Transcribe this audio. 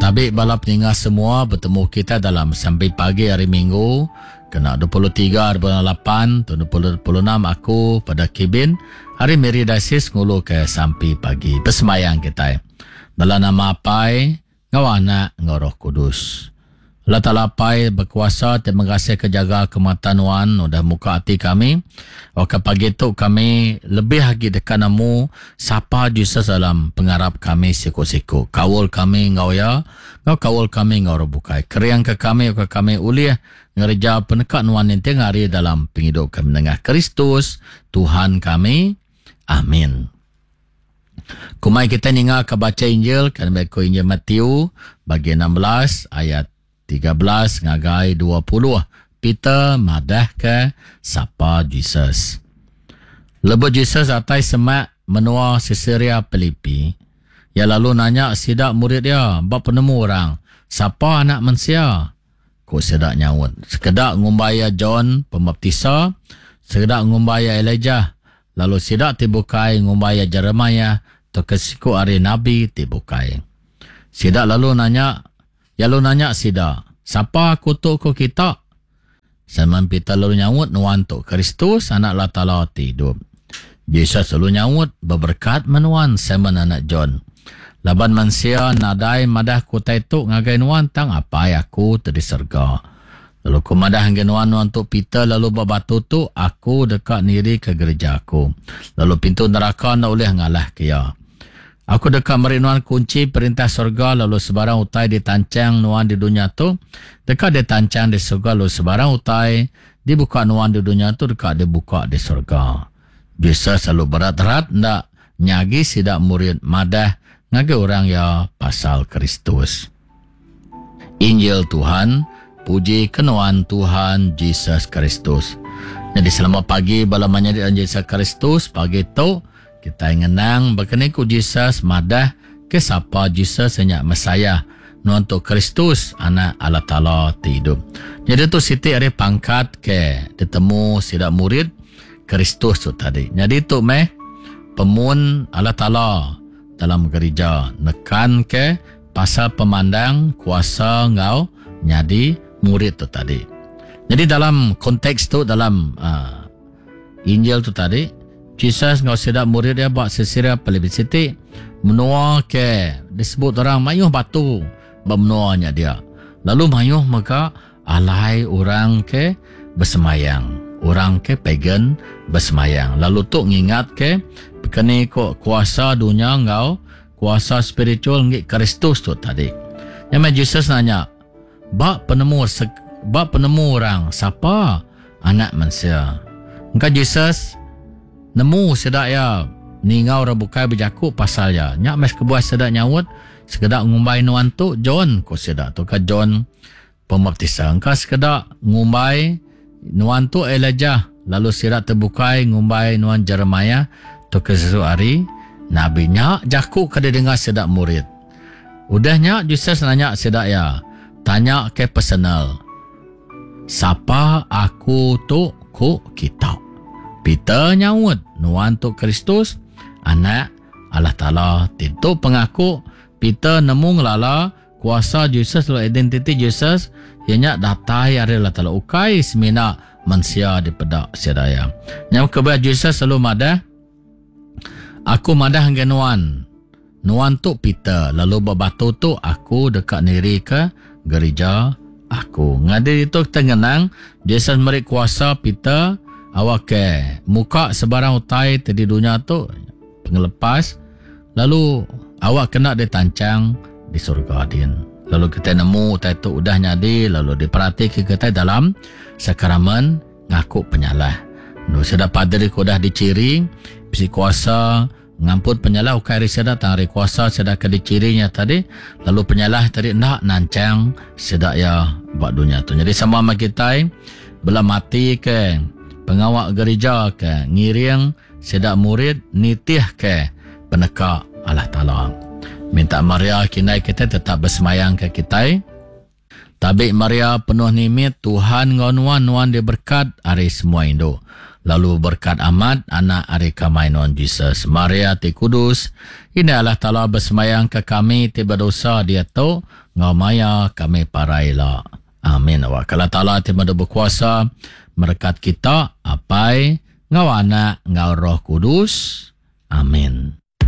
Tabi bala peninga semua betemu kita dalam sampi pagi hari Minggu kena 23 hari bulan 8 tahun 2026 aku pada Kibin hari Miri Diocese ngulu ke sampi pagi besembayang kitai. Dalam nama Apai enggau Anak enggau Roh Kudus. Allah Taala Apai bekuasa ti mengasih ke jaga ke mata nuan udah muka ati kami. Oka pagi tu kami lebih agi deka nemu sapa Jesus dalam pengarap kami siku-siku. Kaul kami enggau iya, enggau kaul kami enggau orang bukai. Kering ke kami oka kami ulih ngereja peneka nuan ninting hari dalam pengidup kami nengah Kristus Tuhan kami. Amin. Kumai kita ninga ke baca Injil kan ko Injil Matthew bagi 16 ayat 13 ngagai 20. Peter madah ke sapa Jesus. Lebuh Jesus atai semak menua Caesarea Philippi, ia lalu nanya sida murid dia ba penemu orang, sapa anak mensia? Ku sida nyaut, sekeda ngumbai iya John Pembaptisa, sekeda ngumbai iya Elijah, lalu sida ti bukai ngumbai iya Jeremiah tauka siku ari nabi ti bukai. Sida lalu nanya, iya lalu nanya sida, Sapa aku tu ku kita? Simon Peter lalu nyaut, Nuan tu Kristus, Anak Allah Taala ti idup. Jesus lalu nyaut, Beberekat meh nuan, Simon anak John. Laban mensia nadai madah ke utai tu ngagai nuan tang Apai aku ti di serega. Lalu aku madah ngagai nuan, nuan tu Peter lalu ba batu tu aku deka nirika gerija aku, lalu pintu neraka enda ulih ngalahka iya. Aku deka meri nuan kunchi perintah serega lalu sebarang utai ditanchang nuan di dunya tu deka ditanchang di serega lalu sebarang utai dibuka nuan di dunya tu deka dibuka di serega. Jesus lalu berat-rat enda nyagi sida murid madah ngagai orang iya pasal Kristus. Injil Tuhan, puji ke nuan Tuhan Jesus Kristus. Jadi selamat pagi bala menyadi dalam Jesus Kristus. Pagi tu kita ngenang bakani ku Jesus madah ke sapa Jesus nya Messiah nuan tu Kristus anak Allah Taala ti idup. Jadi tu siti ari pangkat ke ditemu sida murid Kristus tu tadi. Jadi tu meh pemun Allah Taala dalam gerija nekan ke pasal pemandang kuasa enggau nyadi murid tu tadi. Jadi dalam konteks tu dalam uh, Injil tu tadi, Jesus enggau sida murid dia ba Caesarea Philippi siti menua ke disebut orang mayuh batu ba menua nya dia. Lalu mayuh mega alai orang ke besemayang, orang ke pagan besemayang. Lalu tu ngingat ke bekeni ko kuasa dunya enggau kuasa spiritual ngi Kristus tu tadi. Nya meh Jesus nanya, Ba penemu ba penemu orang sapa anak mensia? Engka Jesus nemu sida iya ninga orang bukai bejaku pasal iya. Nya meh kebuah sida nyaut, sekeda ngumbai nuan tu John, ku sida tu ka John Pembaptisa. Engka sekeda ngumbai nuan tu Elijah, lalu sida ti bukai ngumbai nuan Jeremiah tauka siku ari nabi. Nya jaku ke didengar sida murid. Udah nya, Jesus nanya sida iya, tanya ke personal, Sapa aku tu ku kita? Peter nyaut, Nuan tu Kristus, Anak Allah Taala. Ti tu pengaku Peter nemu ngelala kuasa Jesus lalu identiti Jesus iya nya datai ari Allah Taala ukai semina mensia dipeda sida iya. Nya kebuah Jesus selalu madah, Aku madah ngagai nuan, nuan tu Peter, lalu ba batu tu aku deka nirika gerija aku. Ngadi ditu kita ngenang, Jesus meri kuasa Peter awakka muka sebarang utai ti di dunya tu, pengelepas, lalu awak kena ditanchang di surga din. Lalu kita nemu utai tu udah nyadi lalu diperatika kita dalam sakramen ngaku penyalah. Enu sida paderi ke udah dichiri bisi kuasa ngampun penyalah ukai ari sida tang ari kuasa sida ke dichiri nya tadi lalu penyalah tadi enda nanchang sida iya ba dunya tu. Nyadi sama meh kitai bela mati ke pengawa gerija ke ngiring sida murid nitih ke peneka Allah Taala. Minta Maria kindai kitai tetap besemayang ke kitai. Tabi Maria penuh nimit, Tuhan enggau nuan, nuan diberkat ari semua indu. lalu beberkat amat anak ari kamai nuan Jesus. Maria ti kudus, Indai Allah Taala besembayang ke kami ti bedosa diatu enggau maya kami parai ila. Amin. Awak Allah Taala ti madu bekuasa merekat kita, Apai, enggau Anak, enggau Roh Kudus. Amin.